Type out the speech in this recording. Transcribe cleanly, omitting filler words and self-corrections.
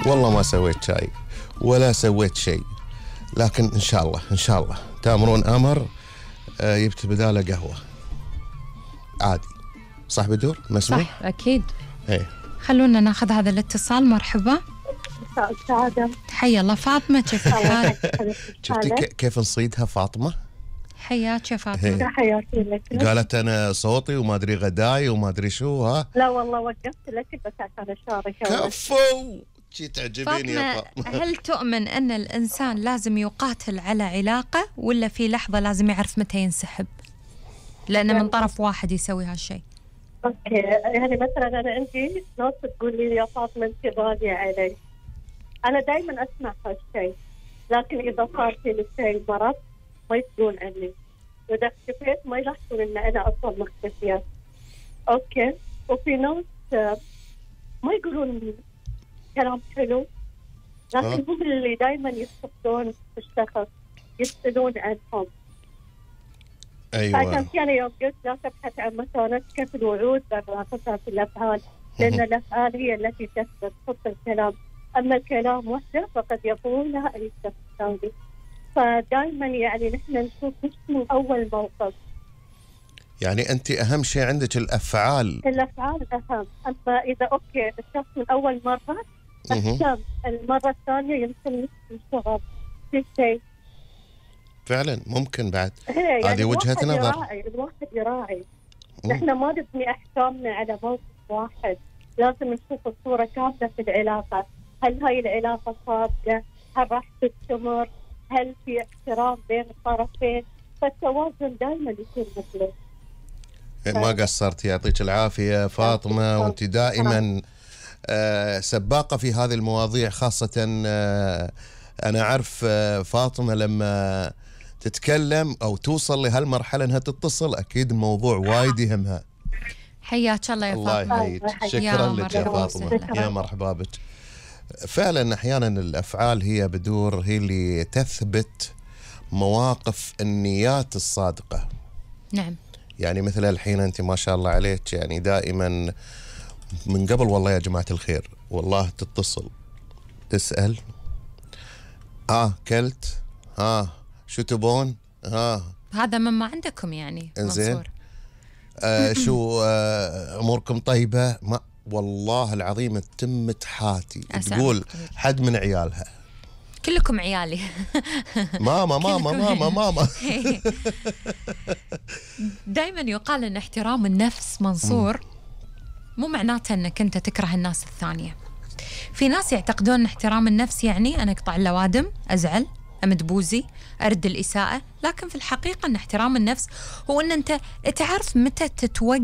والله ما سويت شاي ولا سويت شيء، لكن إن شاء الله إن شاء الله تأمرون أمر جبت بداله قهوة عادي. صح بدور مسموح؟ صح أكيد. إيه خلونا ناخذ هذا الاتصال. مرحبا. مساء السعادة. حيا الله فاطمة، كيف الحال؟ شفتي كيف نصيدها فاطمة؟ حياك يا فاطمة. حياتي لك. قالت أنا صوتي وما أدري غداي وما أدري شو. ها لا والله وقفت لك بس عشان أشارك. كفو شي تعجبيني يا فاطمة. هل تؤمن أن الإنسان لازم يقاتل على علاقة ولا في لحظة لازم يعرف متى ينسحب؟ لأنه من طرف واحد يسوي هالشيء. أوكي يعني مثلا أنا عندي ناس تقول لي يا فاطمة أنت غالية علي. أنا دائما أسمع هالشيء، لكن إذا صار في شيء مرض ما يسألون عني، وإذا اختفيت ما يلاحظون إن أنا أصلا مختفية. أوكي وفي ناس ما يقولون كلام حلو، لكن هم اللي دائما يستفدون الشخص، يسألون عنهم. أيوة. عشان كذا يوم قلت لا تبحث عن مكانتك في الوعود بل في الأفعال، لأن الأفعال هي التي تثبت خط الكلام، أما الكلام وحده فقد يكون لها أي شخص ثاني. فدائما يعني نحن نشوف مش من أول موقف. يعني أنت أهم شيء عندك الأفعال. الأفعال أهم، أما إذا أوكي الشخص من أول مرة أحسن، المرة الثانية يمكن نشتغل في شيء. فعلا ممكن بعد. يعني هذه وجهة نظر. الواحد يراعي. نحن ما نبني أحكامنا على موقف واحد، لازم نشوف الصورة كاملة في العلاقة. هل هاي العلاقة صادقة؟ هل راح تستمر؟ هل في احترام بين الطرفين؟ فالتوازن دائما يكون مطلوب. ما قصرت، يعطيك العافية فاطمة، وانت دائما سباقة في هذه المواضيع، خاصة أنا أعرف فاطمة لما تتكلم أو توصل لهالمرحلة أنها تتصل أكيد الموضوع وايد يهمها. حياك الله يا فاطمة. الله يحييك. شكرا لك يا فاطمة. يا مرحبا بك. فعلا أحيانا الأفعال هي بدور، هي اللي تثبت مواقف النيات الصادقة. نعم. يعني مثل الحين أنت ما شاء الله عليك، يعني دائما من قبل والله يا جماعة الخير والله تتصل تسأل كلت شو تبون هذا مما عندكم يعني انزين شو أموركم طيبة. ما والله العظيم تتم تحاتي تقول حد من عيالها كلكم عيالي. ماما ماما ماما ماما. دائما يقال ان احترام النفس منصور مو معناته انك انت تكره الناس الثانية. في ناس يعتقدون ان احترام النفس يعني انا اقطع اللوادم، ازعل، امد بوزي، ارد الاساءة، لكن في الحقيقة ان احترام النفس هو ان انت تعرف متى تتوقف